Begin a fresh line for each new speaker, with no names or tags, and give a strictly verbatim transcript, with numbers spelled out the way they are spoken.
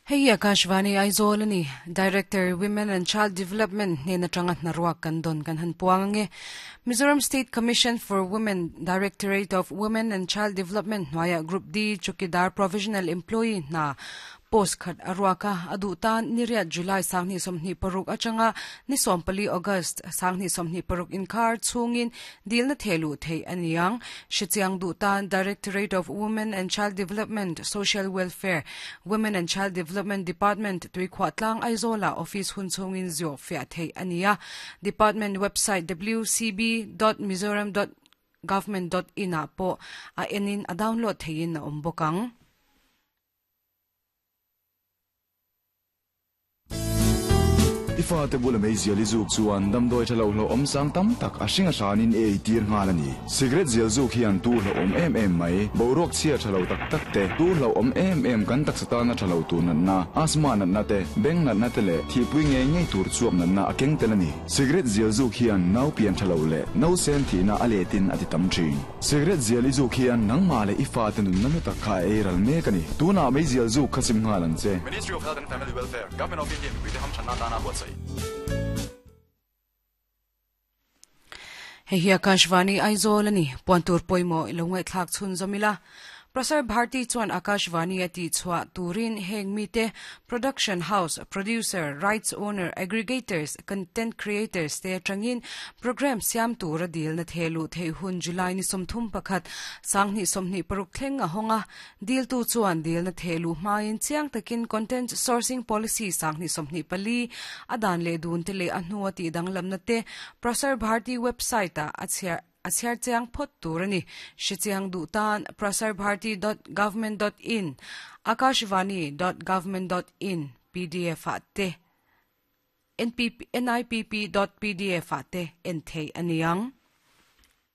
Hei Akashvani Aizawl ani Director Women and Child Development hnen atanga hnaruak kan don kan han puang ange Mizoram State Commission for Women Directorate of Women and Child Development hnuaia Group D Chukidar Provisional Employee hna post khat aruaka adu tan niriat July sangni somni paruk achanga ni sompali August sangni somni paruk inkar chungin dilna thelu thei aniang shichiang du tan Directorate of Women and Child Development Social Welfare Women and Child Development Department tuikhwa tlang Aizola office hun chungin zio fia thei ania department website w c b dot mizoram dot government dot in a po a enin a download theiin a ombokang.
Ifa te bula mei zial izuk chuan damdoi thalo hlo om sang tam tak a hringa hranin e tir ngal ani. Cigarette zial zuk hian tu hlo om em em mai boruak chhia thalo tak tak te tu hlo om em em kan tak satana thalo tu nan na asma nan na te beng nan na te le thi pui nge nge tur chuak nan na akeng tel ani. Cigarette zial zuk hian nau pian thalo le no sen thi na aletin ati tam thin. Cigarette zial izuk hian nangma le ifa te nun nanu tak kha e ral me kani tu na mei zial zuk khasim ngalan che.
Ministry of Health and Family Welfare, Government of India, with the Ham Channa Dana Huatsai.
Hei hi Akashvani Aizawl ani puantur poimo ilongai thlak chhun zomila Prasar Bharti chuan Akashvani ati chhuah turin heng mite production house producer rights owner aggregators content creators te atangin program siam tur a dil na thelu thei hun July ni somthum pakhat sangni somni paruk thleng a honga dil tu chuan dil na thelu hmain chiang takin content sourcing policy sangni somni pali adan le dun te le a hnuwa ti danglam na te Prasar Bharti website a achhia achhiar chiang phot tur ani hrichiang du tan prasar bharti dot government dot in akashvani dot government dot in pdf a te N P P, N I P P dot P D F a te en thei aniang.